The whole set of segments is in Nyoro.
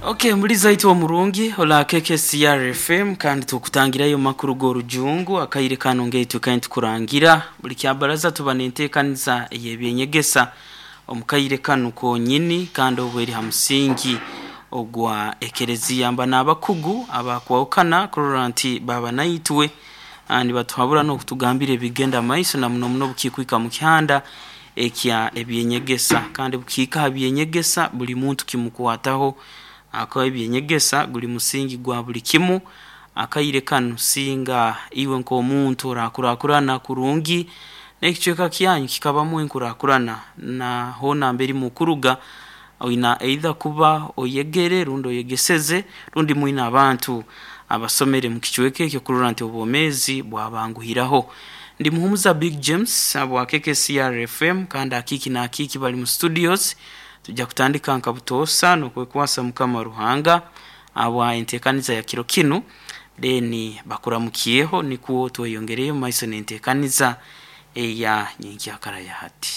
Okay, muliza itwe omurungi ola KKCR FM, kandi tukutangirayo makuru g'orujungu akaire kano ngeitu kandi tukurangira buli kyabaraza tuba nentekaniza ey'ebyenyegesa omukaire kano konyini, kandi obwo eri ha musingi ogwa ekereziya mba n'abakugu abakwahukana kurora nti baba naitwe nibatuhabura n'okutugambira ebigenda maiso na muno muno bukikwika mu kihanda ekya ebyenyegesa, kandi bukiika ha byenyegesa buli muntu kimukwataho akaba ebyenyegesa guli musingi gwa buli kimu. Akaire kanu singa iwe nk'omuntu orakurakurana kurungi n'ekicweka kyanyu kikabamu enkurakurana na hoona mbere mukuruga oina either kuba oyegere rundi oyegeseze rundi mwine abantu abasomere mu kicweka ekyo kurora nti obwomeezi bwabanguhiraho. Ndi Muhumuza Big James abwa KKCR FM, kandi akiki na akiki bali mu studios. Tujja kutandika nka butoosa n'okwekwasa Mukama Ruhanga abwa enteekaniza ya kiro kinu, then bakuramukyeho nikwo tweyongereyo mu maiso n'enteekaniza eya nyenkyakara ya hati.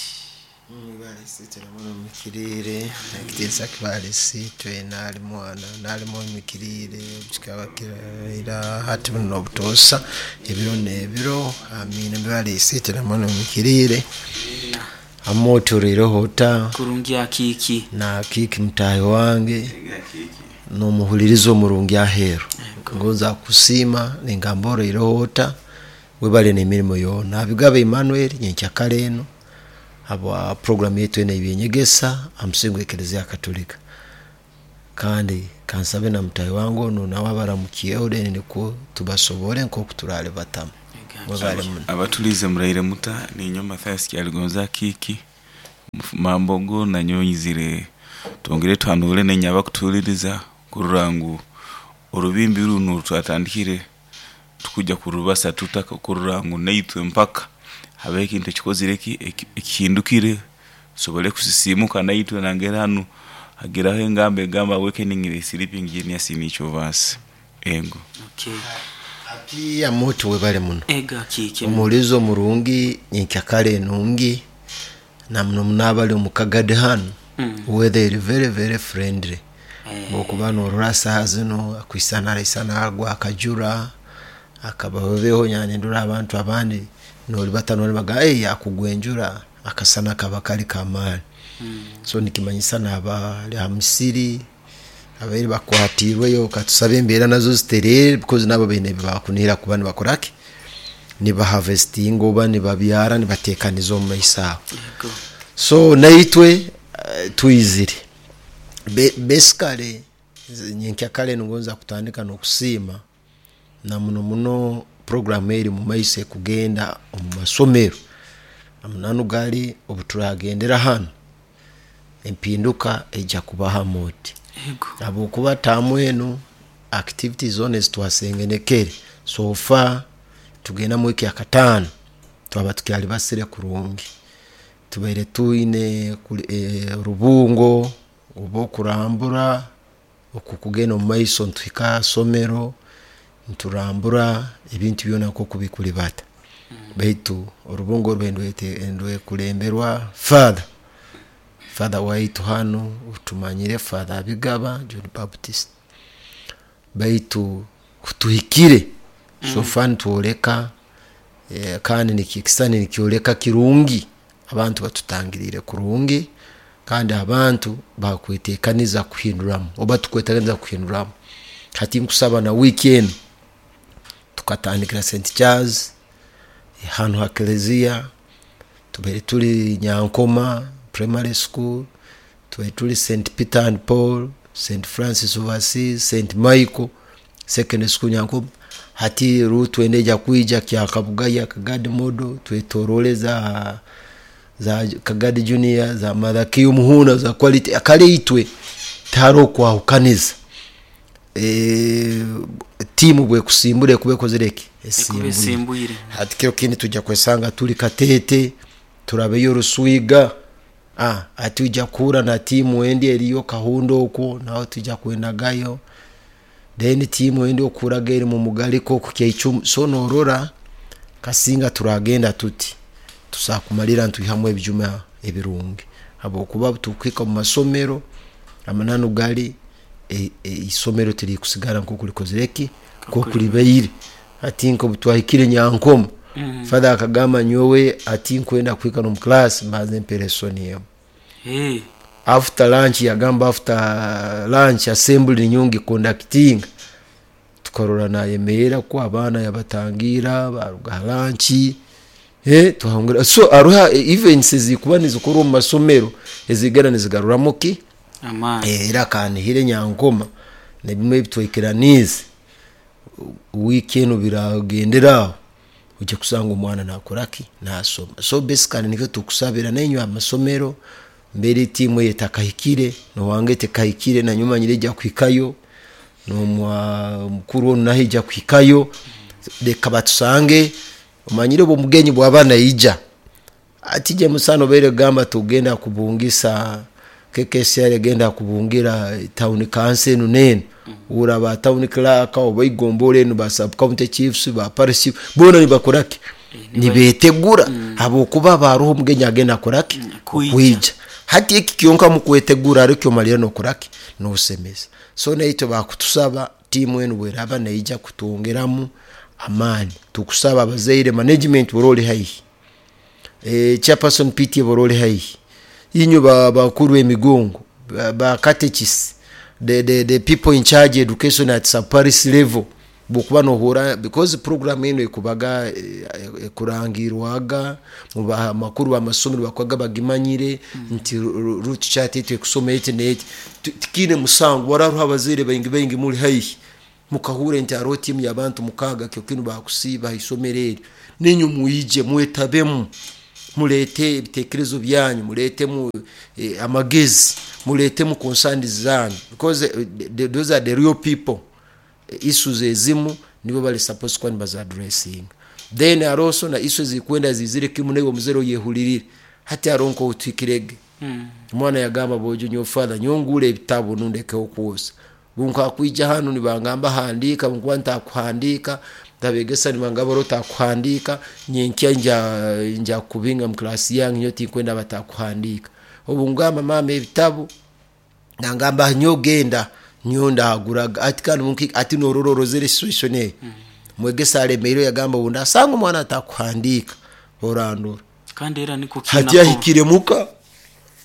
Balisiitwe namwe mumikiriire, ekitiinisa kibalisiitwe n'ali mwana n'ali mumikiriire, kikaba kiraira hati buno n'obutoosa ebiro n'ebiro. Amiina. Balisiitwe namwe mumikiriire. Amooturiireho ota kurungi akiki na kiki mutaahi wange n'omuhuliriza omurungi aheeru, ngonza kusiima ningamba oroireho ota, webale n'emirimo yoona. Abigaba Emmanuel nyenkyakara eno habwa programu yaitu eno ey'ebyenyegesa ha musingi gw'ekereziya Katolika, kandi kansabe na mutaahi wange onu nawe abaramukyeho, then nikwo tubasobole nk'oku turalibatamu. Mwebale muno. Abatulize muraire muta, ninyo Mathias Kyaligonza Kiki Mambogo, nanyowe nyizire twongere tuhanure nenye abakutuhuliriza kurora ngu orubimbi runu twatandikire tukujja kurubasa tutaka kurora ngu naitwe mpaka habeho ekintu ekikozire ki ekihindukire tusobole kusisimuka naitwe nangeri hanu hagiraho engamba egamba awakening the sleeping genius in each of us. Ego. Okay. Ati amooti webale muno. Ego akiki. Omuhuliriza omurungi nyenkyakara enungi na muno muno abali omu Kagadi hanu, weather eri very very friendly. Bwokuba norora saaha zino akwisana araisana agwa akajura akabaho, nyane ndora abantu abandi nolibata nolibaga hey, akugwa enjura akasana kaba kali kamaani. So nikimanyisa n'abali ha musiri abaire bakwatiirweyo, katusabe embeera nazo zitereere, because nabo baine ebibakunihira kuba nibakora ki, nibaharvestinga oba nibabyara nibateekaniza omu maiso aho. Ego. So naitwe twizire basically nyenkyakara eno ngonza kutandika n'okusiima na muno muno programu eri mu maiso ekugenda omu masomero. Amananu gali obuturagendera hanu empinduka ejja kubaho amooti. Ego. Habwokuba taamu enu activities zoona ezitwasengenekere so far tugenda mu wiiki yakataano twaba tukyalibasire kurungi. Tubaire twine orubungo oba okurambura okukugenda omu maiso nituhika ha somero niturambura ebintu byona nkoku bikulibata, baitu orubungo oru ndwekulemberwa father waitu hanu tumanyire Father Abigaba John Baptist, baitu kutuhikire so far nitwoleka kandi nikisani nikyoleka kirungi, abantu batutangiriire kurungi kandi abantu bakwetekaniza kuhinduramu oba tukwetekaniza kuhinduramu. Hati nkusaba na wiiki enu tukatandikira St Charles hanu ha kereziya, tubaire tuli Nyankoma Primary School, tubaire tuli St Peter and Paul, St Francis of Assisi, St Michael Secondary School Nyankoma. Hati rutu enu eja kwija Kyakabugaya Kagadi Model, twetorole za Kagadi Junior, za Mother Muhuna, za quality kale itwe tihariho kwahukaniza. Tiimu bwekusimbura ekuba ekozire ki, Ekuba esimbwire. Hati kiro kindi tujja kwesanga tuli Katete, turabeyo Ruswiga, hati ojja kuhura na tiimu endi eriyo Kahundo okwo naho tujja kwenagayo, then tiimu endi okuraga eri mu Mugaliko oku Kyaicumu. So norora kasinga turagenda tuti tusobola kumalira nitwihamu ebijuma ebirungi, habwokuba obutukuhika omu masomero amananu gali. Isomero tirikusigara nkoku likozire ki, nkoku libaire. Hati nka obutwahikire Nyankoma, father akagamba nyowe ati nkwenda kuhika n'omu class mbanze mpe lesson emu. After lunch, yagamba after lunch assembly niyo ngiconductinga. Tukarora nayemerra ko abaana yabatangira baruga ha lunch, twahongera. So haroho events ezikuba nizikorwa omu masomero ezigenda nizigaruramu ki amaani. Era akanihire Nyankoma nebimu ebitwaikiraniize wiiki enu biragendera aho, ojya kusanga omwana nakora ki, nasoma. So basically nikyo tukusabira nainywe amasomero, mbere tiimu eyo etakahikire, nowange tekahikire, nanyowe manyire ejya kuhikayo, nomukuru onu nawe ejya kuhikayo. Leka batusange, omanyire obu omugenyi bwaba naija, ati James obaire kugamba tugenda kubungisa KKCR, egenda kubungira town council enu nenu, ura ba town clerk oba igombora enu, ba sub county chiefs, ba parish chief, boona nibakora ki, nibetegura habwokuba baroho omugenyi agenda akora ki, Kwija. Kwija. Hati eki kyonka mukwetegura arikyo omalira nokora ki, nosemeza. So naitwe bakutusaba tiimu enu bweraba neija kutwongeramu amaani, tukusaba abazaire, management bwora oli haihi, chairperson PTA bwora oli haihi, inywe bakuru emigongo, ba catechists, the people in charge education at sub parish level, bwokuba nohura because program eno ekubaga ekurangirwaga mu makuru b'amasomero bakwaga bagimanyire nti route chart etu ekusoma eti neti. Tikiine musango wararuho abazaire baingi baingi muli haihi mukahure nti hariho tiimu y'abantu mukaaga kyo kinu bakusiiba ha isomero eryo, ninywe mwije mwetabemu, mulete ebitekerezo byanyu, muletemu amagezi, muletemu concerns zanyu, because those are the real people. Issues ezimu nibo bali supposed kuba nibaza addressing. Then hariho na issues zikwenda zizire kimu naiwe omuzaire oyehulirire. Hati hariho nk'obutuhikirege omwana yagamba bojo nyowe father nyongure ebitabo nundekeho kwosa, bunkakwija hanu nibangamba handika, bunkuba ntakuhandika ntabegesa nibangamba ro takuhandika, nyenkya nja kubinga mu class yange, nyowe tinkwenda batakuhandika. Obu ngamba mama ebitabo, nangamba nyo genda nyo ndaguraga. Ati kandi munki ati norora orozere situation eyo. Mwegesa alemeire yagamba ubu ndasanga omwana atakuhandika orandora. Kandi era niko Hati kina yahikire muka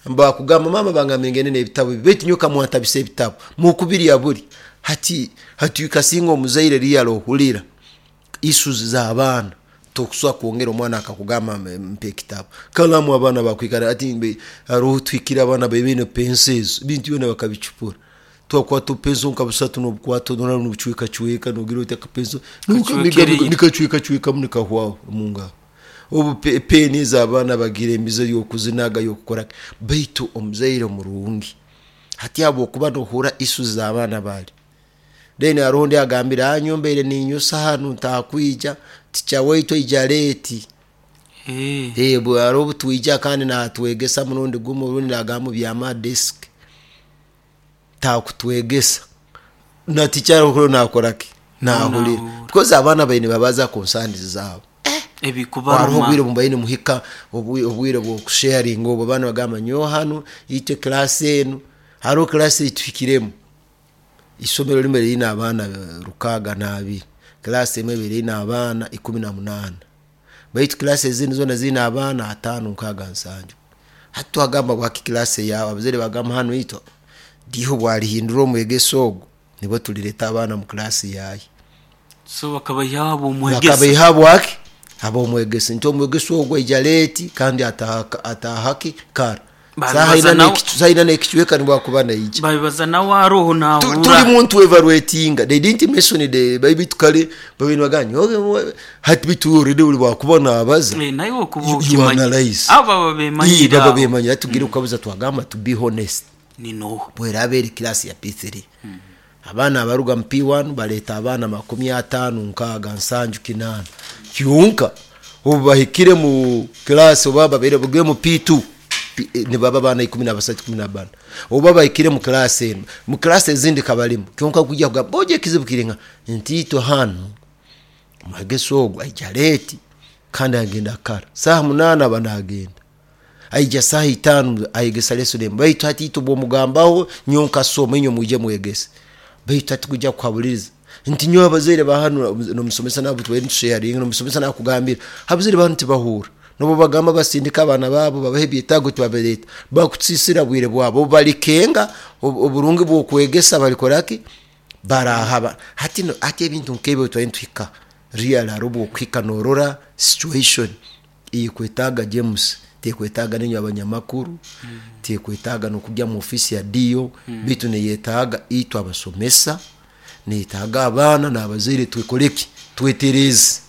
mbakugamba mama bangamba ngende n'ebitabo baitu nyoka mwantabisa ebitabo mukubiri ya buri hati hati kasinga omuzaire riya ohulira issues z'abaana tokuswa kwongera omwana akakugamba mpe ekitabo kalamu abaana bakwikara ati mbe hariho twikira abaana bebine pencils bintu byona bakabicupura, twakwata openso nka busatu nobukwata nora nobucweka cweka nogira oti akapenso Kacwekereye. nikacweka cwekamu nikahwaho mungaro. Obu peni z'abaana bagira emize y'okuzinaga y'okukora, baitu omuzaire omurungi hati habwokuba nohura issues z'abaana bali. Then hariho ondi agambire anyombeire ninyusa hanu ntakwija ticha waitu aija late. Hariho obutwija kandi natwegesa murundi gumu, orundi nagamba byama desk takutwegesa na ticha ariho nakora ki, nahulira because abaana baine babaza concerns zabo. Hariho Ebikubaruma obwire bumbaine muhika obwire bw'okusharinga, obwo abaana bagamba nyowe hanu itwe class enu hariho class etuhikiremu isomero rimwe ririna abaana 62, class emwe erina abaana 18, baitu class ezindi zona zirina abaana 5, 6, 7. Hati twagamba bwaki class yawe, abazaire bagamba hanu itwe diho bwarihindura omwegeso ogwo nibwo tulireta abaana mu class yaye. So bakabaha abo omwegesa. Bakabaha bwaki abo omwegesa nti omwegeso ogwo aija late kandi atahaki kara saha ina n'ekicweka nibwakuba naija. Babibaza nawe aroho Tuli nahura. Muntu evaluatinga, they didn't mention the bitu kale babintu baganya hati bitu already uli bwakuba nabaza. Naye okuba You okimanya analyze. abo baba bemanyira baba abo. Bemanyira tugire ukabuza twagamba to be honest. Ni noho Bweraba eri class ya P3, abaana abaruga mu P1 baleta abaana 50, 60, 70, 80 kyonka obu bahikire mu class oba babeire buge mu P2 nibaba abaana 13, 14, oba bahikire mu class eno mu class ezindi kabalimu kyonka kujja kugamba boje ekizibu kiringa nti itwe hanu omwegeso ogwo aija late kandi agenda kara saha 8 aba nagenda. Aija saha 5 ayegesa lesson emu. Baitu hati itwe bwomugambaho nyowe nkasoma, inywe mwije mwegese. Baitu hati kujya kuhabuliriza nti nyowe abazaire ba hanu nomusomesa nabo tubaire nitusharinga, nomusomesa nakugambira abazaire ba hanu tibahura, nobo bagamba basindika abaana babo babahe ebyetaago tibabireeta, bakutusisira bwire bwabo, obu balikenga oburungi bw'okwegesa balikoraki barahaba. Hati no, hati ebintu nk'ebyo twari nituhika real, hariho obwokuhika norora situation eyekwetaaga James, tekwetaaga ninywe abanyamakuru, tekwetaaga nokujya mu ofisi ya DO, bitu neyetaaga itwe abasomesa, neyetaaga abaana n'abazaire twekoreki, twetereze.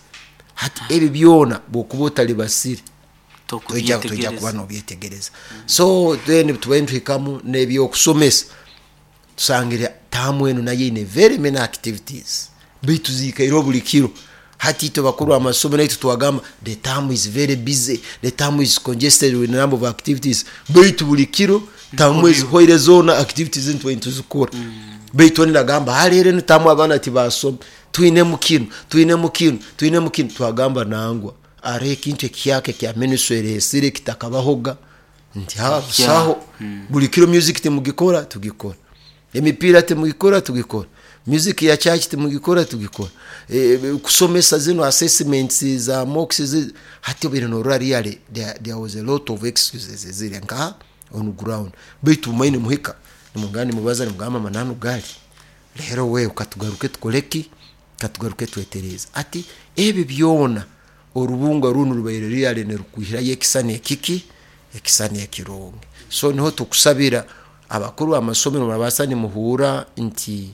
Hati ebi byona bwokuba otalibasire toija kuba nobyetegereza. So then tubaire nituhikamu n'ebyokusomesa, tusangire taamu enu nayo eine very many activities, baitu ziikaireho buli kiro. Hati itwe bakuru amasomero itwe twagamba the term is very busy, the term is congested with number of activities, baitu buli kiro tamu ezihoire zoona activities nitwe nituzikora. Baitu oni nagamba haleero enu tamu abaana tibasoma, twinemu kinu, twinemu kinu, twinemu kinu. Twagamba nangwa hariho ekintu ekihyaka ekya ministry eresire kitakabahoga, nti ha busaho. Buli kiro music timugikora, tugikora, emipiira timugikora, tugikora, music ya church timugikora, tugikora, kusomesa zino assessments za mocks hati obaire norora really there was a lot of excuses eziri nka on ground. Baitu mumaine muhika nimugamba nimubaza nimugamba amananu gali leero wewe katugaruke tukoreki, katugaruke twetereze. Ati ebi byona orubunga runu rubaire really nirukwihirayo ekisani ekiki, ekisani ekirungi. So niho tukusabira abakuru b'amasomero murabasa nimuhura nti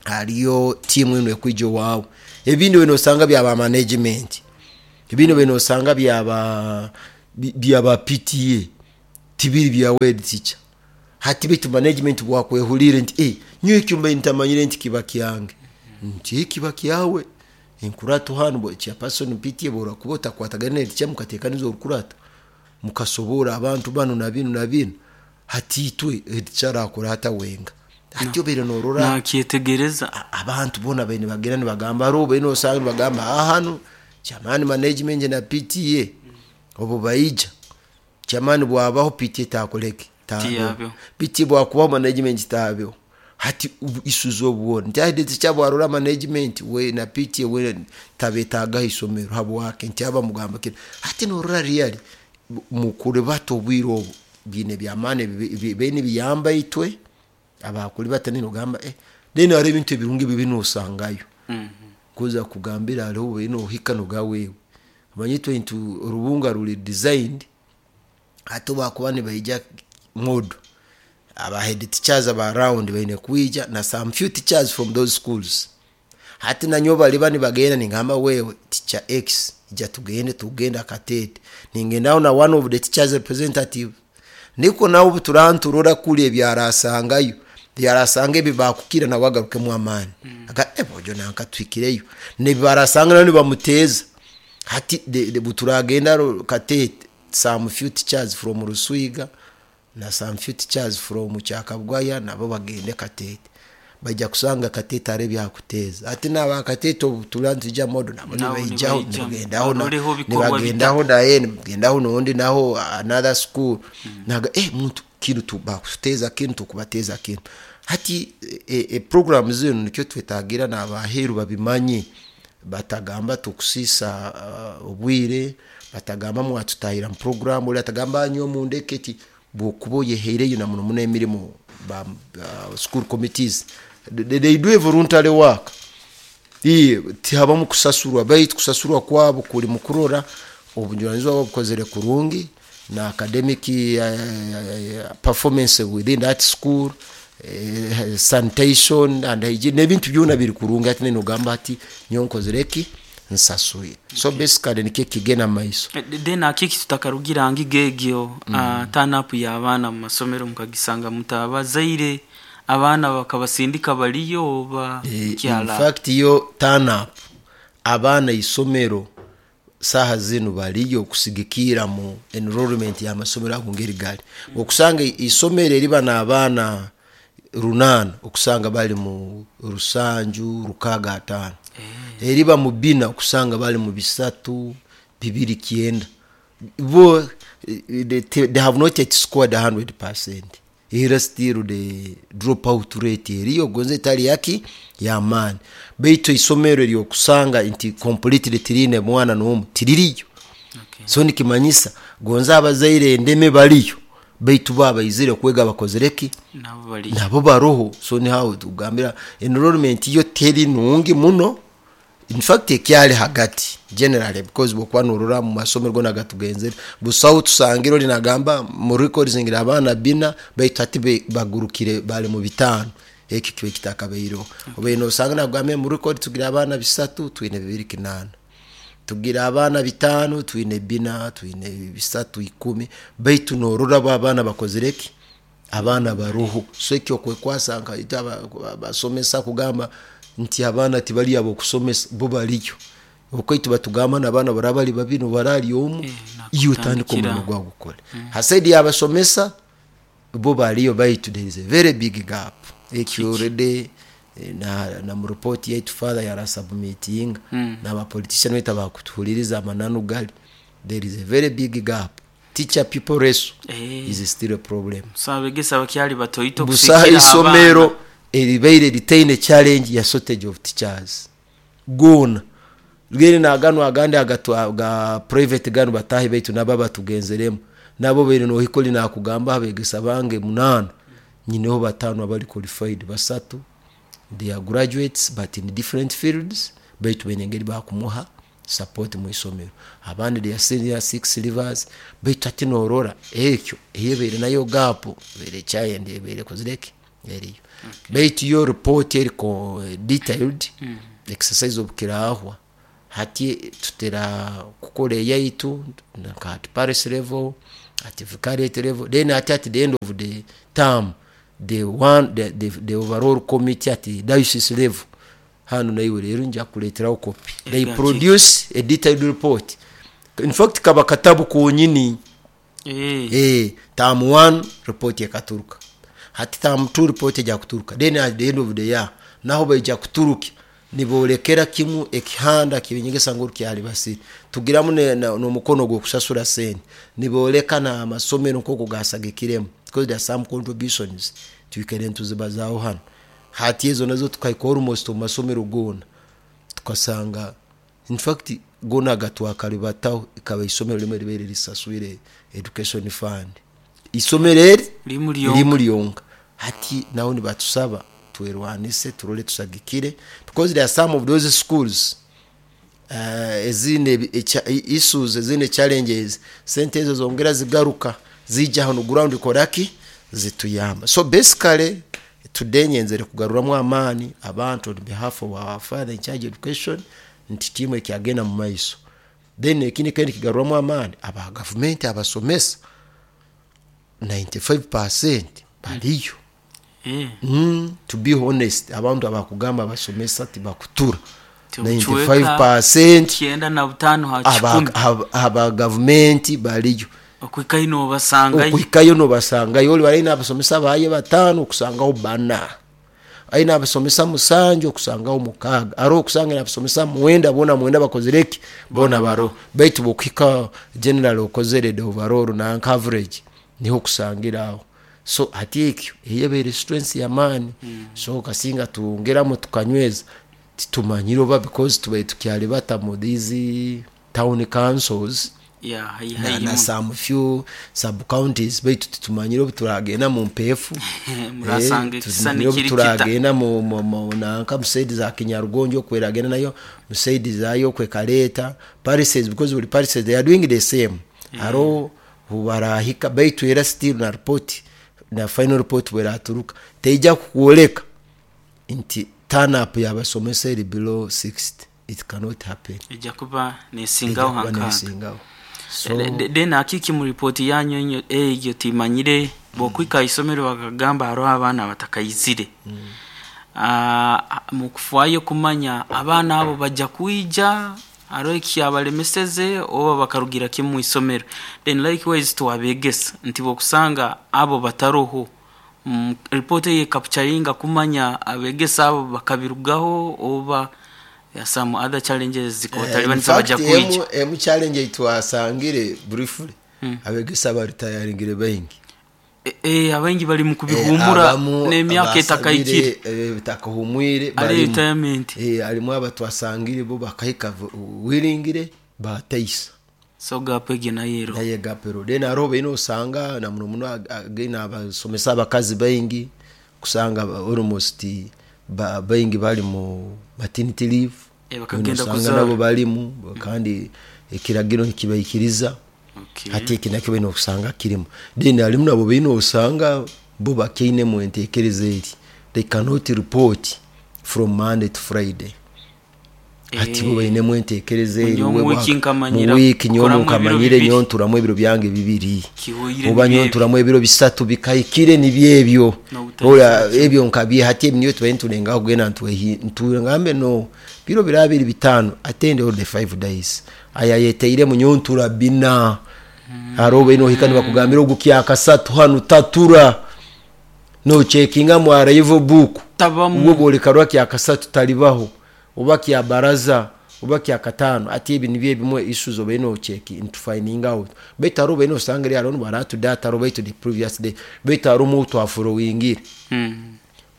hariyo tiimu enu ekwija owaawe. Ebindi oine osanga byaba management, ebindi oine osanga byaba PTA, tibiri bya head teacher. Hati baitu management bwakwehulire nti nyowe ekyo mbaire ntamanyire nti kiba kyange, nti kiba kyawe enkurato hanu chairperson PTA borakuba otakwatagana na teacher mukatekaniza orukurato mukasobora abantu banu na binu na binu, hati itwe head teacher arakora hata wenga. Hati obaire norora nakyetegereza abantu bona baine bagenda nibagamba, hariho baine osanga nibagamba hanu chairman management na PTA obu baija chairman bwabaho PTA takoreki, Tiyabeho. PTA bwakubaho management tabeho. Hati isuza obuwona nti head teacher bwarora management we na PTA we tabetagaho isomero habwake nti aba mugamba kino. Hati norora really mukure bato obwire obu bine byamaani bene biyamba itwe abakuri batani nogamba then hariho ebintu ebirungi bibi nosangayo. Kuza kugambira hariho bene ohika noga wewe manye itwe nti orubunga ruri designed hati bakuba nibaija modo aba head teachers aba round baine kwija na some few teachers from those schools. Hati nanyo baliba nibagenda ningamba wewe teacher X ija tugende, tugenda Katete, ningendaho na one of the teachers representative, niko nawe buturanturora kuli ebyarasangayo byarasanga ebi bakukira nawe agarukemu amaani. Aga bojo nanka twikireyo nebibarasanga nabo nibamuteza. Hati buturagenda Katete some few teachers from Ruswiga na some few teachers from Kyakabwaya nabo bagende Katete, bajja kusanga Katete ari byakuteza. Ati naba Katete obuturantuja modo nabo nibaijaho, nibagendaho na nibagendaho naye nibagendaho nondi naho another school. Naga muntu kintu tubakuteza kintu tukubateza kintu. Hati program zino nikyo twetagira n'abaheru babimanye, batagamba tukusisa obwire, batagamba mwatutahira mu program, uli atagamba nyo mundeketi bwokuba oyeheireyo na muno muno emirimo ba school committees they do a voluntary work. Tihabamu kusasurwa, baitu kusasurwa kwabo kuri mukurora obujunanizibwa bwabo bukozere kurungi na academic performance within that school, sanitation and hygiene n'ebintu byona biri kurungi. Ati neno gamba ati nyonkozere ki nsasuye. So basically nikyo kigenda maiso. Then akiki tutakarugira ngigegyo turn up y'abaana mu masomero mukagisanga mutabazaire abaana bakabasindika baliyo oba kyala. In fact yo turn up abaana isomero saha zinu baliyo kusigikira mu enrollment ya masomero ago ngeri gali. Okusanga isomero eriba n'abaana 8 okusanga bali mu 7 6 5. Eriba mu 4 okusanga bali mu 3 2 9. Bo They have not yet scored 100%. Era still the drop out rate eriyo, gonze etali yaki yamaani, baitu isomero eryokusanga nti completely tiriine mwana n'omu tiririyo. So nikimanyisa gonze abazaire endeme baliyo, baitu bo abaizire kwega bakozire ki? Nabo baliyo. Nabo baroho. So nihaho tugambira enrollment yo teri nungi muno, in fact ekyali hagati generally, because bwokuba norora mu masomero gona gatugenzere, busaho tusangire oli nagamba mu records ngira abaana bina, baitu hati bagurukire bali mu 5. Ekyo kibe kitakabaireho. Obaire nosanga nagambye mu record tugira abaana 3, twine 2 8, tugira abaana 5, twine 4, twine 3 10, baitu norora bo abaana bakozire ki? Abaana baroho. So ekyo kwekwasa nka itwe abasomesa kugamba nti abaana tibali abokusomesa, bo baliyo. Okwaitu batugamba n'abaana baraba bali babiri nobarali omu, iyo otandika omurimo gwawe gukore. Ha side y'abasomesa bo baliyo, baitu there is a very big gap. Ekyo already na mu report yaitu father yarasubmitinga, n'abapolitician baitu abakutuhuliriza, amananu gali there is a very big gap. Teacher pupil ratio is still a problem. So abegesa bakyali batoito Busaho kusikira isomero abaana. Eribaire litaine challenge ya shortage of teachers gona rwere nagano agandi agatwa ga private gano batahi, baitu nabo batugenzeremu nabo baire nohikoli nakugamba abegesa bange 8, nyineho 5 abali qualified, 3 they are graduates but in different fields, baitu baine engeri bakumuha support mu isomero, abandi they are senior six leavers. Baitu hati norora ekyo eyebaire nayo gap ebaire challenge ebaire kozireki eriyo, baitu yo report eriko detailed exercise obukirahwa. Hati tutera kukora eyaitu nka at parish level, at vicariate level, then at the end of the term the one the overall committee at the diocese level. Hano naiwe rero nja kuleteraho copy. They produce a detailed report, in fact kaba katabu konyini. Term 1 report ekaturuka, hati term 2 report ejya kuturuka, then at the end of the year naho baija kuturuka nibolekera kimu ekihanda kibinyegesa ngu kyali basiri tugiramu n'omukono gw'okusasura sente, niboleka n'amasomero nk'oku gasagikiremu, because there are some contributions twikere nituzibazaho hano. Hati ezo nazo tukahika almost omu masomero goona, tukasanga in fact gona gatwakalibataho ikaba isomero limwe libaire lisaswire education fund, isomero eri Limu lyonka. Limu lyonka. Hati naho nibatusaba twerwanise, turole tusagikire, because there are some of those schools ezine issues, ezine challenges, sente ezo zongera zigaruka zijja hano ground koraki zituyamba. So basically today nyenzere kugaruramu amaani abantu on behalf of our father in charge education nti tiimu ekyagenda mu maiso. Then ekindi kandi kigaruramu amaani aba gavumenti, abasomesa 95% baliyo. To be honest, abantu abakugamba abasomesa tibakutura, Tibuchweka 95% 95 ha 100. Aba gavumenti baliyo. Okwikayo nobasangayo. Okuhikayo nobasangayo. Oli balina abasomesa baye 5, okusangaho 4, aina abasomesa 7, okusangaho 6, ari okusanga abasomesa 9, bona 9 bakozereki? Bona baro. Baitu bokuhika general okozere the overall na coverage, niho okusangira aho. So hati ekyo eyebeire strength yamaani. So kasinga tuongeramu tukanyweza, titumanyire oba because tubaire tukyali bata mu these town councils ya na some few sub counties, baitu titumanyire obu turagenda mu mpeefu. Murasanga ekisani Tumanyire obu kiri kita. Turagenda mu nanka mu side za Kinyarugonjo, okweragenda nayo mu side zayo okwekaleta parishes, because buli parishes they are doing the same, haro hubarahika. Baitu era still na report na final report bweraturuka teija kukwoleka nti turn up yabasomesa eri below 60. It cannot happen. Ejja kuba Ejja nesingaho kuba hankaaga. nesingaho. So Then akiki mu ripoti yanyu eyo timanyire bokwika isomero bakagamba hariho abaana batakayizire. Mukufaayo kumanya abaana abo bajja kwija, hariho ekyabalemeseze oba bakarugira kimu mu isomero? Then likewise twabegesa nti bokusanga abo bataroho, ripoti eyo ekapucharinga kumanya abegesa abo bakabirugaho oba ya some other challenges zikotalibanisa bajja In fact, kwija. Emu challenge itwasangire briefly. Abegesa baritayaringire baingi. Abaingi bali mu kubihumura Abamu n'emyaka etakaikire. Abasabire, bitakahumwire ari barimu. Retirement. Harimu abatwasangire bo bakahika wiringire bataisa. So gap egi nayo ero. Naye gapero then hariho baine osanga na muno muno again abasomesa abakazi baingi kusanga almost baingi bali mu maternity leave. Bakagenda osanga kuzaara. Nabo balimu kandi ekiragiro nikibaikiriza. Hati eki nakyo baine okusanga kirimu. Then harimu nabo baine osanga bo bakiinemu enteekereza eri they cannot report from Monday to Friday. Hati bo bainemu enteekereza eri nyowe we mu wiki nkamanyira mu wiki nyowe kukoramu ebiro nkamanyire bibiri. Nyowe nturamu ebiro byange bibiri. Kihoire oba nyowe nibyo. Nturamu ebiro bisatu bikahikire nibyo ebyo. N'obutahiza Ora ebyo nkabye hati ebi niyo tubaye nturengaho kugenda ntwehi ntugambe no biro biraba biri 5 attend all the 5 days aya yeteire mu nyowe ntura bina. Hariho baine ohika nibakugambira ogu kyakasatu hanu tatura no checkinga mu arrival book. Tabamu. Ubwo bwolekarwa kyakasatu talibaho oba kya baraza oba kya katano. Ati ebi nibyo ebimwe issues obaine ocheki into finding out. Baitu hariho baine osanga eri hariho nibaratu data hariho baitu the previous day baitu hariho omu twafollowingire.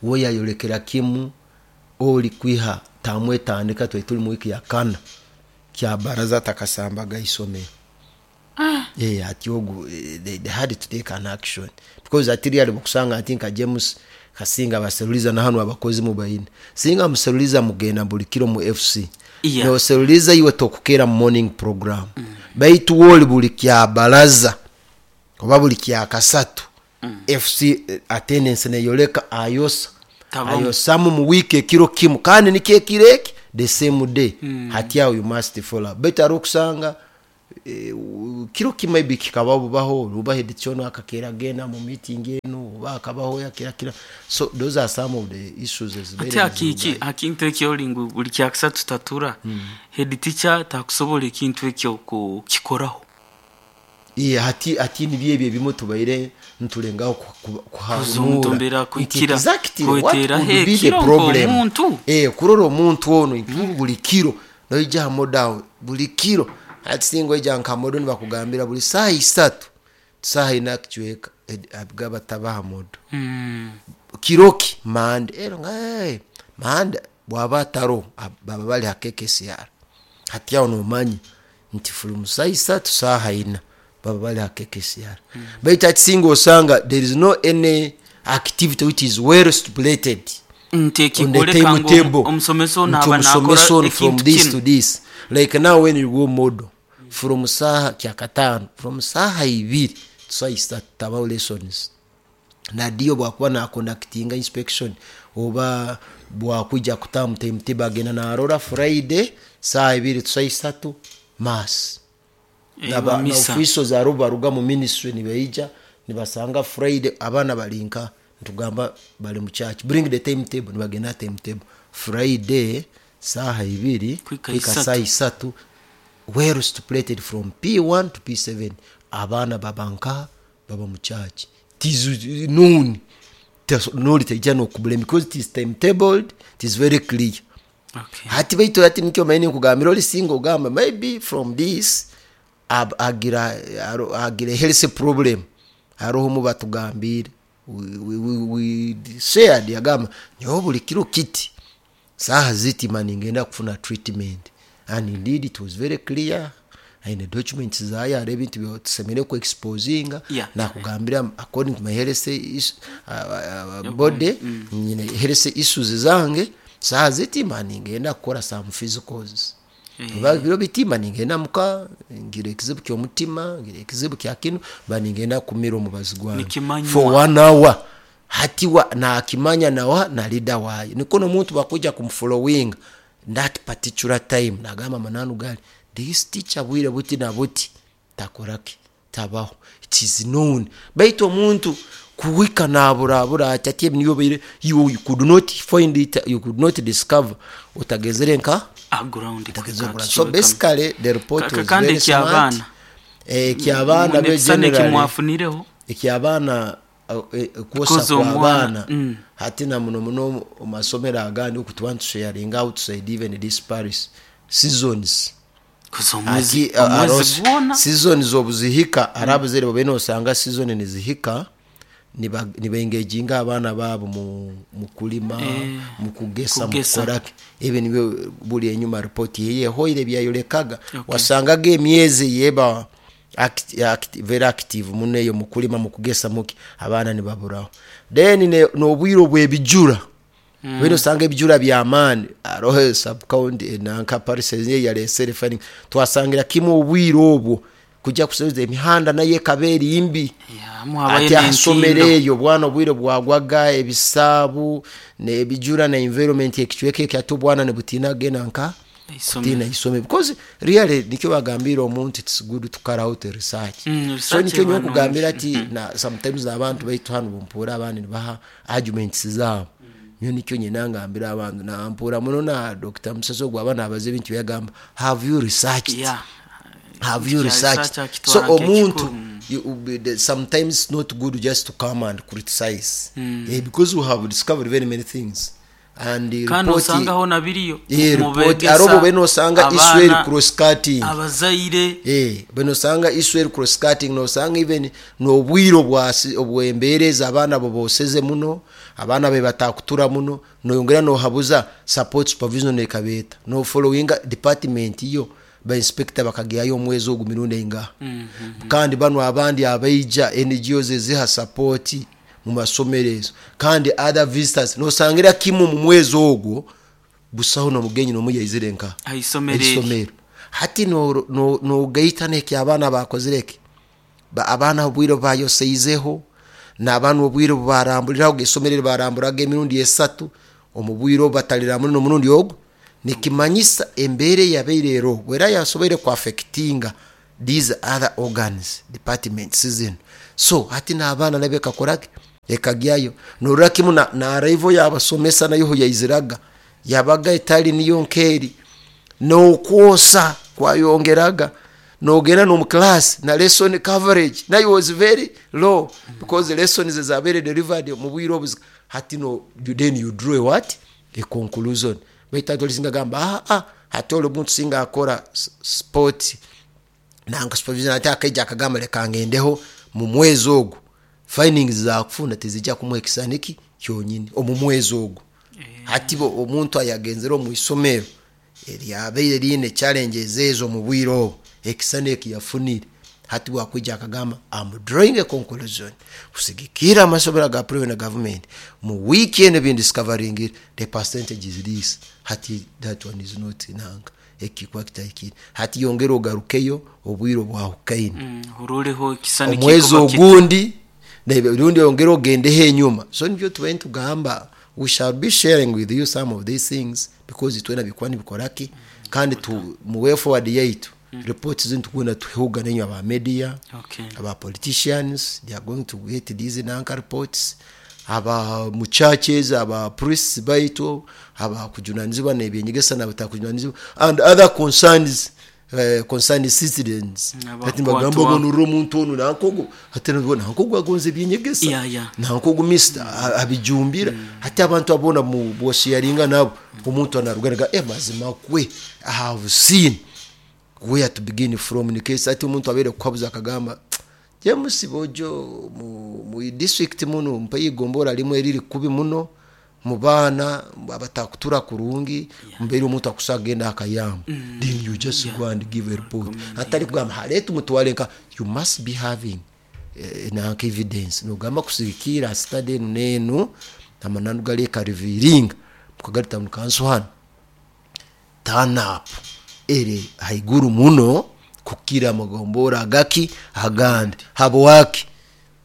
We yayolekera kimu oli kwiha tamwetandika twari turi mu wiki ya kana kya baraza takasambaga isomero. Ati ogu, they had to take an action because ati ryari bukusanga ati nka James Kasinga baseruliza na hano abakozi mu bayine singa museruliza mugenda buli kiro mu FC. No seruliza iwe tokukera morning program. Baitu woli buli kya baraza oba buli kya kasatu. FC attendance neyoleka ayosa. Tabamu. Ayosamu mu wiki ekiro kimu kandi nikyo ekiro eki the same day. Hati aho you must follow. Baitu ari okusanga kiro kimwe maybe kikaba bubaho ruba head chono akakera genda mu meeting eno oba akabaho yakira kira. So those are some of the issues as Ate very akiki akintu ekyo olingu buli kyakasatu tatura. Head teacher takusobola ekintu ekyo kukikoraho. Hati nibyo ebyo ebimwe tubaire nturengaho kuhanura. Kuzomutombera, Nti kuikira, exactly what kwetera, could he, be the kiro problem? nk'omuntu. Kurora omuntu ono nti buli kiro noija ha modawo buli kiro ati singa oija nka modo nibakugambira buli saaha isatu saaha ina kucweka abigaba tabaha modo. Kiroki mande ero nga, hey, mande bwaba ataro baba bali ha KKCR. Hati aho nomanyi nti from saaha isatu saaha ina baba bali ha KKCR. Baitu ati singa osanga there is no any activity which is well stipulated Nti on the ekikoleka ngu timetable. omusomesa ono Nti aba omusomesa nakora ono from ekintu this kino. to this. Like now when you go model from saha kyakatano from saha ibiri saha isatu tabaho lessons. Na dio bwakuba na conductinga inspection oba bwakuja kutamu timetable agenda na arora Friday saha ibiri saha isatu mass. Ba Na misa. officials aro baruga mu ministry nibaija nibasanga Friday abana balinka ntugamba bali mu church bring the timetable nibagenda timetable Friday saha ibiri Kwika kwika isatu. saha isatu well stipulated from P1 to P7 abana babanka baba mu church tizu noon noli tejja no kublame because it is timetabled, it is very clear. Hati baitu hati nikyo maini nkugambira oli single ogamba maybe from this agira health problem haroho mu batugambire we shared yagamba nyowe buli kiro kiti saha ziti mani ngenda kufuna treatment and indeed it was very clear and the documents zayo hari ebintu byotusemere ku exposinga. Nakugambira according to my health body nyine health issues zange saha ziti mani ngenda kukora some physicals. Oba biro bitima ningenda muka ngira ekizibu ky'omutima ngira ekizibu kya kino ba ningenda kumira omubazi gwange Nikimanywa. for 1 hour hati wa nakimanya nawa na leader wayo niko n'omuntu bakuja kumfollowing that particular time nagamba mananu gali this teacher bwire buti na buti takoraki tabaho it is known baitu omuntu kuwika naburabura ati ati niyo bire you could not find it, you could not discover utagezere nka Ground utagezere kaka nka. So kichweka. basically the report Kaka was kandi very smart. eky'abaana. Eky'abaana be Munekisane generally kimwafunireho. Eky'abaana, kwosa Kuza kwa omwana. abaana. Hati na muno muno mu masomero agandi okutuba ntusharinga outside even this Paris seasons. Kuza omwezi Ati, omwezi arosi- gwona. Season zobuzihika ari abazaire babe nosanga season nizihika, nibengeginga abaana baabo mu kulima, mu kugesa, mu kugesa. kukoraki. Ebi nibyo buli enyuma ripoti yeyehoire byayolekaga. Wasangaga emyezi yeba very active muno eyo mu kulima, mu kugesa, muki, abaana nibaburaho. Then n'obwire obw'ebijura, bwine osanga ebijura by'amaani aroho subcounty nanka parcels yalesere finding twasangira kimu obwire obwo kujja kusubiza emihanda nayo ekaba eri mbi. Yeah, muhabayo Ati ahasomero n'entindo. Eyo bwana obwire bwagwaga ebisaabu nebijura na environment ekicweka ekyo, ate obwana nibutiina genda nka Isomero. kutiina isomero, because really nikyo bagambira omuntu, it's good to carry out a research. So Research nikyo eba nyowe nkugambira nungi. ati na sometimes abantu baitu hano bumpuura abandi nibaha arguments zaabo. Nyo nikyo nyina ngambira abantu nampuura muno na Dr. Musaso gwaba nabaza ebintu byagamba, have you researched? Have you Kya researched? research akitwara So omuntu nk'ekikuru. Sometimes it's not good just to come and criticize, because we have discovered very many things and the Kandi report osangaho na biriyo report mubegesa arobo bene osanga abaana, issue cross cutting. Abazaire. Bene osanga issue cross cutting, nosanga even n'obwire obwembeereza abaana bo boseze muno, abaana be batakutura muno, noyongera nohabuza support supervision ekabeeta no followinga department yo ba inspector bakagyayo omwezi ogu mirundi eingaha. Kandi bano abandi abaija NGOs eziha support mu masomero ezo, kandi other visitors, nosangira kimu mu mwezi ogwo busaho nomugenyi nomu yaizire nka aisomero eri. Isomero hati nogaita neki abaana bakozireki. Abaana obwire bayoseizeho n'abaana obwire barambuliraho isomero eri baramburaga emirundi esatu omu bwire obu bataliramu n'omurundi ogwo, nikimanyisa embeera eyabaire ero bwera yasoboire kuaffectinga these other organs, departments zino. So hati n'abaana nabo ekakoraki ekagyayo norora kimu na arrival y'abasomesa nayo yaiziraga yabaga etali niyo nkeeri n'okwosa kwayongeraga, nogenda nomu class na lesson coverage nayo was very low because the lessons zabaire delivered mu bwire obu. Hati no then you draw a what, a conclusion. Baitu ati olisinga gamba, hati oli omuntu singa akora sport nanga supervision, ate akaija akagamba leka ngendeho mu mwezi ogwo, findings zakufuna tezijja kumuha ekisaniki kyonyini omu mwezi ogwo. Hati bo omuntu ayagenzere omu isomero eryabaire riine challenges ezo mu bwire obwo, ekisana eki yafunire, hati bwakwija akagamba, am drawing a conclusion kusigikira amasomero ga private na government mu week eno bindiscovering the percentage is this. Hati that one is not nanga ekikuba kitahikire. Hati yongera ogarukeyo obwire obwahukaine. Urureho ekisani Omwezi kikuba ogundi rundi oyongere ogendeho enyuma. So nibyo tubaire nitugamba, we shall be sharing with you some of these things because itwena bikuba nibikoraki kandi mu way forward yaitu reports zinu tugenda tuhuga nenyu aba media, aba politicians, they are going to get these nanka reports, aba mu churches, aba priests baitu aba kujunanizibwa n'ebyenyegesa nabatakujunanizibwa and other concerns, concerned citizens. Ati bagamba Abakwatwa. ngo nurwo omuntu onu nankogo, ate nankogo agonze ebyenyegesa, nankogo mister abijumbira. Ate abantu abona mu bwosharinga nabo omuntu anaruganaga mazima kwe I have seen where to begin from in case ati omuntu abeere kuhabuza akagamba, James Bojo mu district muno mpayigombora limwe eriri kubi muno mu baana abatakutura kurungi, mbeere omuntu akusagenda akayamba, then you just go and give a report atali kugamba haleeta umutwale nka you must be having nanka evidence nogamba kusigikira study enu nenu amananu gali ekariviringa mukagarita mukansu hano turn up ere haiguru muno kukira amagombora agaki agandi habwaki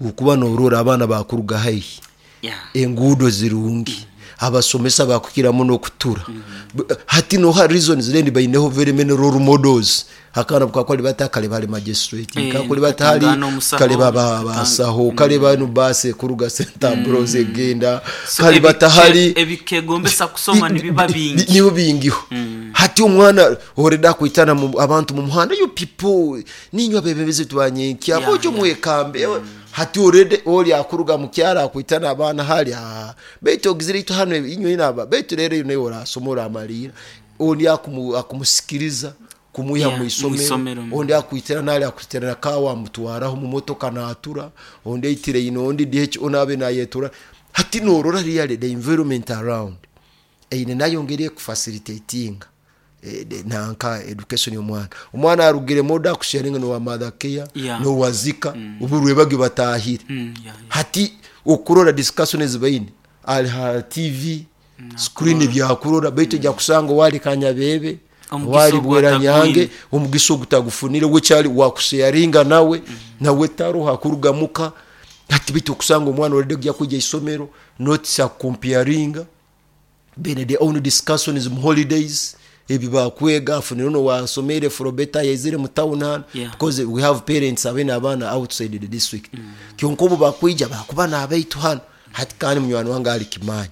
ukuba norora abaana bakuruga haihi, enguudo zirungi, abasomesa bakukira muno okutura. Hati noha reasons then baineho very many role models. Akana bukakoli bata kale bali magistrate, kakoli batali katangana omusaho, kale baba basaho, kale banu base kuruga St Ambrose egenda, So kale batahali ebikegombesa kusoma nibiba bingi. Nibo bingiho. Hati omwana oreda kwitana abantu mu muhanda, you people ninywa bebebeze twanyenkya bojo mwekambe. Hati orede oli akuruga mu kyara akwitana abaana hali, baitu ogizire itu hano inywe inaba baitu rero naye orasoma oramalira oli akumusikiriza. kumwiha Yeah, mu isomero mw'isomero. ondi akwitira nali akwitira na kawa amutwaraho mu motoka natura ondi aitire ino ondi DH onabe nayetura hati norora really the environment around eine nayo ngeri ekufacilitatinga nanka education y'omwana omwana arugire moda akusharinga nowa mother care Yeah. nowazika uburwe batahire Yeah, yeah. hati okurora discussion ezibaine ali ha tv screen byakurora baitu ojja kusanga wali kanyabebe Omugisa wali bweranyange ogwatakwine. omugisa ogutagufunire wekyali wakusharinga nawe nawe taroha kurugamuka hati baitu okusanga omwana olede kujya kwijja isomero not akukomparinga bene their own discussions mu holidays ebi bakwega afunire ono wasomere frobeta yaizire mu town hano Yeah. because we have parents abene abaana outside the district kyonka obu bakwija bakuba nabaitu hano hati kandi munywani wange ali kimanya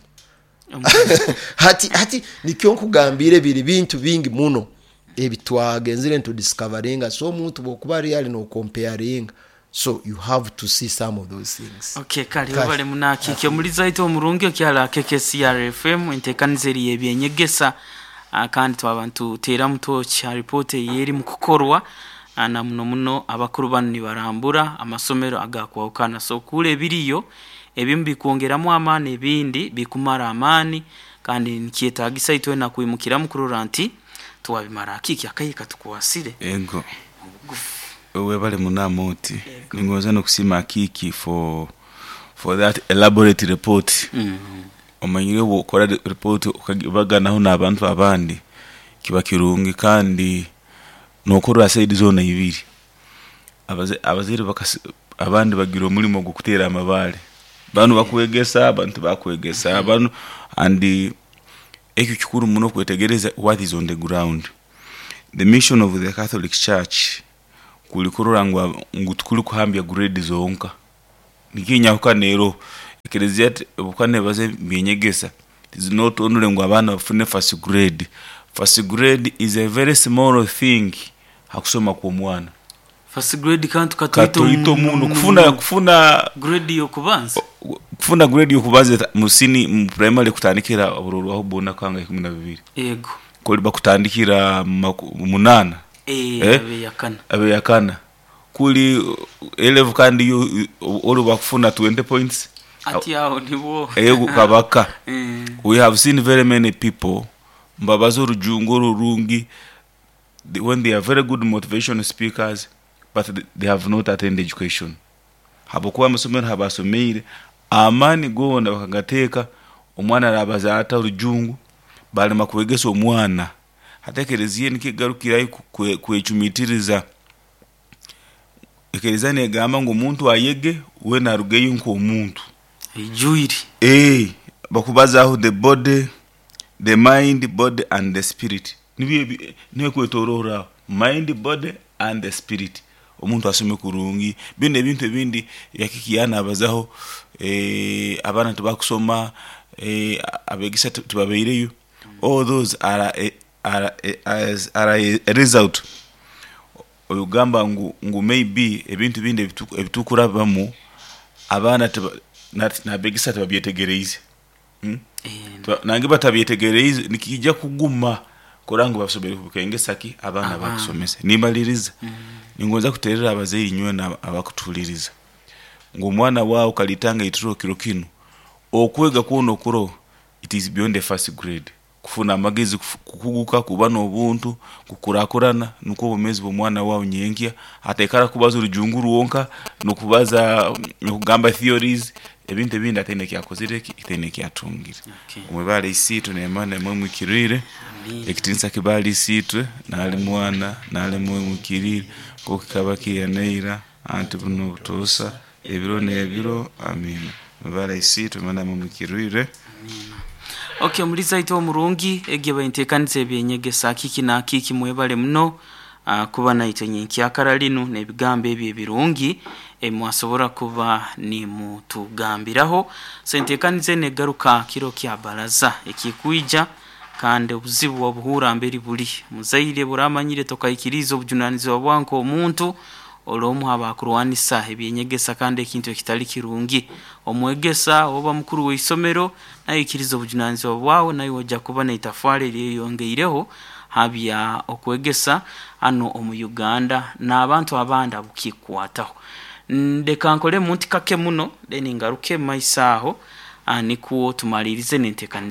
hati nikyo nkugambire biri bintu bingi muno ebitwagenzire ntudiscoveringa so omuntu bwokuba real nokomparinga so you have to see some of those things Okay, kale Kale. webale munakike omuliza waitu omurungi okyala KKCR FM enteekaniza eri y'ebyenyegesa. Kandi twaba ntuteeramu toki ha ripooti eyeri mu kukorwa. Na muno muno abakuru banu nibarambura amasomero agakwahukana so kuura ebiriyo ebimu bikwongeramu amaani ebindi bikumara amaani kandi nikyetagisa itwena kwimukiramu kurora nti twabimara akiki akayi katukwasire Ego. Webale munama oti ningoza nokusima akiki for that elaborate report. Omanyire bwokora report ukagibaganaho n'abantu abandi kiba kirungi kandi nokorora side zona ibiri. Abazaire abandi bagira omulimo gw'okuteera amabaale, banu bakwegesa abantu bakwegesa banu, and ekyo kikuru muno kwetegereza what is on the ground. The mission of the Catholic Church kuli kurora ngu tukuli kuhambya grade zonka nikinyahuka nero ekelezia bukane baze byenyegesa. It is not only ngu abaana bafune first grade. First grade is a very small thing hakusoma kw'omwana. First grade kantu katoito katoito muno kufuna grade yokubanza kufuna grade yokubanza musini mu primary kutandikira obururu aho bona kanga 12 yego koli bakutandikira 8 abe yakana abe yakana kuli 11 kandi yo oli bakufuna 20 points ati aho nibo ego kabaka. We have seen very many people mbabaza orujungu orurungi when they are very good motivation speakers, but they have not attained education habwokuba amasomero habasomeire amaani gona bakagateeka omwana arabaza ata orujungu balema kwegesa omwana hati ekereziya nikigarukirayo kwecumitiriza ekereziya negamba ngu omuntu ayege wena arugeyo nk'omuntu ijuiri. Bakubazaho the body, the mind, body and the spirit, nibyo niyo kwetororaho mind, body and the spirit. Omuntu asome kurungi bino ebintu ebindi yakikiyana abazaho abaana tibakusoma, abegesa tibabaireyo. All those are a result oyugamba ngu maybe ebintu bindi ebitukurabamu abaana nabegesa tibabyetegereize. Nange batabyetegereize nikijja kuguma kora ngu basobere kubikengesa ki abaana bakusomesa. Nimaliriza ningonza kuterera abazaire nywe abakutuliriza ngu omwana wawe kalitanga itiro kiro kino okwega kuno kuro it is beyond the first grade kufuna amagezi kukuguka kuba n'obuntu kukurakurana nuko obumezi bw'omwana wawe nyenkya atekara kubaza orujungu rwonka nokubaza nokugamba theories ebintu ebindi ataine kyakozire itaine kyatungire. Omwebale isiitwe nemana emwe mwikirire ekitinisa kibali isiitwe nali mwana nali mwe mwikirire nk'oku kikaba kiyaneira anti buno obutuusa ebiro n'ebiro amina. Mwebale isiitwe emana emwe mwikirire. Okay, omuliza waitu omurungi egyo bainteekaniza ebyenyegesa kiki na kiki mwebale muno kuba naitwe nyenkyakara linu n'ebigambo ebyo ebirungi mwasobora kuba nimutugambiraho. So enteekaniza eno egaruka kiro kya baraza ekikwija kandi obuzibu obuhura mberi buli muzaire buramanyire tokaikiriza obujunanizibwa bwanka omuntu olwomu abakurwanisa ebyenyegesa kandi ekintu ekitali kirungi omwegesa oba mukuru w'isomero naye ikiriza obujunanizibwa bwawe naye ojja kuba n'itafari eryeyongeireho. Habya okwegesa hanu omu Uganda n'abantu abandi abukikwataho. Ndeka nkolemu nti kake muno, then ngaruke maiso aho, nikwo tumalirize n'enteekaniza.